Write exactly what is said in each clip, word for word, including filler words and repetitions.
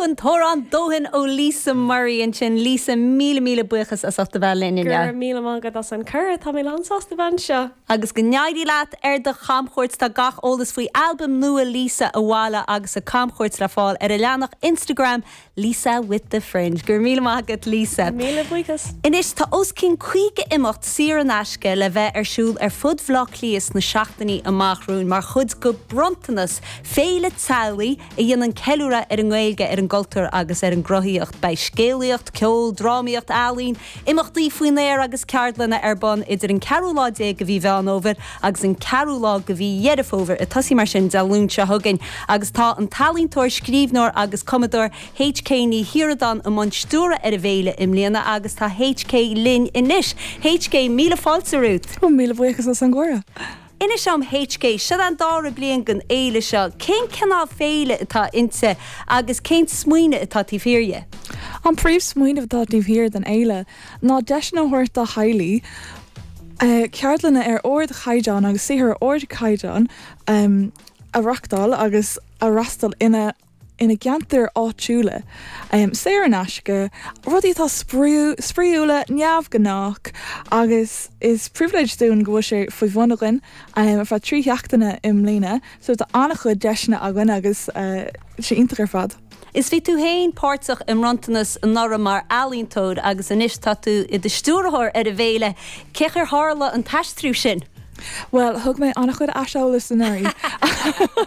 an t-amhrán "Dóthain" ó Lisa Murray ansin. Lisa, míle míle buíochas as ucht a bheith linn. Gur míle maith agat as an cuireadh. Tá mé lánsásta anseo. Agus go n-éirí leat ar do chamchuairt. Tá gach eolas faoi albam nua Lisa Abhaile agus a camchuairt le fáil ar a leathanach Instagram Lisa with the Fringe. Gur míle maith Lisa. Míle buíochas. Anois tá os cionn caoga imeacht saor in aisce le bheith ar siúl ar fud Bhaile Átha Cliath sna seachtainí amach romhainn mar chuid de Bronntanas, féile teaghlaigh a dhéanann ceiliúradh ar an nGaeilge, ar an gcultúr agus ar an gcruthaíocht. Beidh scéalaíocht, ceol, drámaíocht, ealaín, imeachtaí faoin aer agus ceardlanna ar bun idir an ceathrú lá déag de mhí Mheán Fhómhair agus an ceathrú lá de mhí Dheireadh Fómhair, ag tosú mar sin Dé Luain seo chugainn, agus tá an t-ealaíontóir, scríbhneoir agus cumadóir H K Ní Shioradáin i mbun stiúradh ar an bhféile i mbliana agus tá H K linn anois. H K, míle fáilte romhat. Míle buíochas as an gcuireadh. Inis dom, H K, seo an dara bliain den fhéile seo, cén cineál féile atá inti agus cén smaoineamh atá taobh thiar de? An príomhsmaoineamh atá taobh thiar den fhéile ná deiseanna a thabhairt do theaghlaigh ceardlanna ar ardchaighdeán agus saothar ardchaighdeán um, a reáchtáil agus a fhreastal ina ina gceantar áitiúla. Um, saor in aisce, rudaí atá spraíúla, neamhghnách, agus is pribhléid dúinn go bhfuil sé faoi bhun againn um, ar feadh trí seachtaine i mbliana, so tá an-chuid deiseanna againn agus uh, sé iontach ar fad. Is bhí tú féin páirteach i mBronntanas anuraidh mar ealaíontóir agus anois tá tú i do stiúrthóir ar an bhféile. Cén chaoi ar tharla an t-aistriú sin? Well, thug mé an-chuid aiseolas anuraidh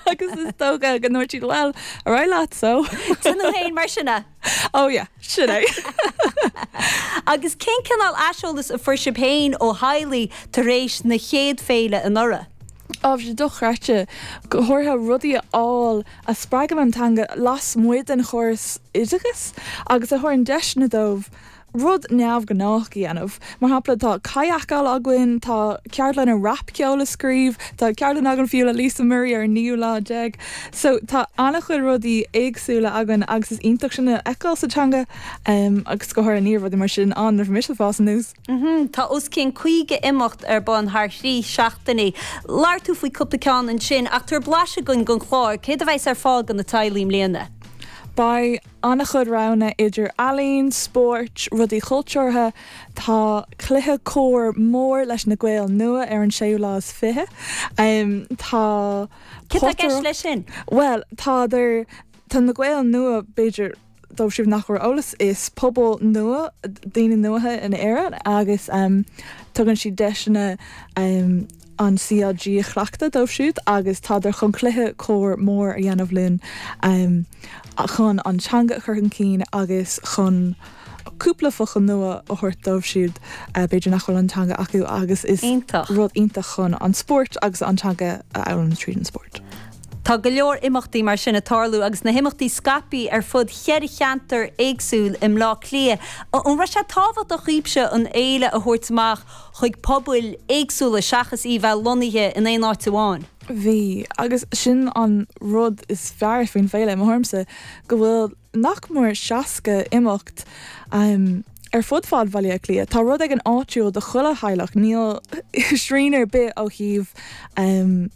agus is dócha go ndúirt siad, "Well, ar leat so." Tú féin mar sinna? Oh yeah, sin é. Agus cén cineál aiseolas a fuair sibh féin ó theaghlaigh tar éis na chéad féile anuraidh? Á sé dochreidte, go háirithe rudaí a fháil a spreagann an teanga lasmuigh den chóras oideachais agus a thugann deiseanna dóibh rud neamhghnách a dhéanamh. Mar shampla, tá kayakáil againn, tá ceardlanna rapcheol a scríobh, tá ceardlann againn fiú le Lisa Murray ar naoú lá déag. So tá an-chuid rudaí éagsúla againn agus is iontach sin a fheiceáil sa teanga um, agus go háirithe ní raibh rudaí mar sin ann nuair mise ag fás aníos. Mm -hmm. Tá os cionn caoga imeacht ar bun thar thrí seachtainí. Labhair tú faoi cúpla ceann ansin ach tabhair blaiseadh dúinn den chlár, céard a bheas ar fáil do na teaghlaigh i mbliana. Beidh an-chuid roghanna idir ealaín, spóirt, rudaí cultúrtha, tá cluiche cór mór leis na Gaeil nua ar an séú lá is fiche. Um, tá Cé leis sin? Well, tá tá na Gaeil nua, b'fhéidir dóibh siúd nach bhfuil eolas, is pobal nua, daoine nua in Éirinn, agus um, tugann siad deiseanna um, an C L G a chleachtadh dóibh siúd agus tádar chun cluiche cór mór a dhéanamh linn um, chun an teanga a chur chun cinn agus chun cúpla focal nua a thabhairt dóibh siúd uh, b'fhéidir nach bhfuil an teanga acu, agus is Iontach. rud iontach chun an spórt agus an teanga a fhoghlaim tríd an spórt. Tá go leor imeachtaí mar sin ag tarlú agus na himeachtaí scaipthe ar fud cheithre cheantar éagsúil i mBleá Cliath. An raibh sé tábhachtach daoibhse an fhéile a thabhairt amach chuig pobail éagsúla seachas í bheith lonnaithe in aon áit amháin? Bhí, agus sin an rud is fearr faoin féile mórsa, go bhfuil nach mór seasca imeacht um, ar fud fad Bhaile Átha Cliath. Tá rud ag an áitiúil do chuile theaghlach, níl srian ar bith ó thaobh um,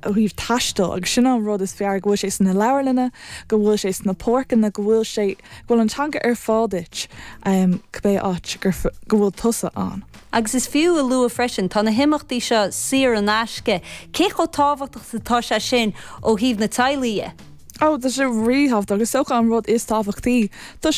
ó thaobh taistil, agus sin an rud is fearr, go bhfuil sé sna leabharlanna, go bhfuil sé sna páirceanna, go bhfuil sé go bhfuil an teanga ar fáil duit um, cibé áit gur go bhfuil tusa ann. Agus is fiú a lua freisin, tá na himeachtaí seo saor in aisce, cé chomh tábhachtach atá sé sin ó thaobh na teaghlaigh? Ó, tá sé ríthábhachtach agus is dócha an rud is tábhachtaí. Tá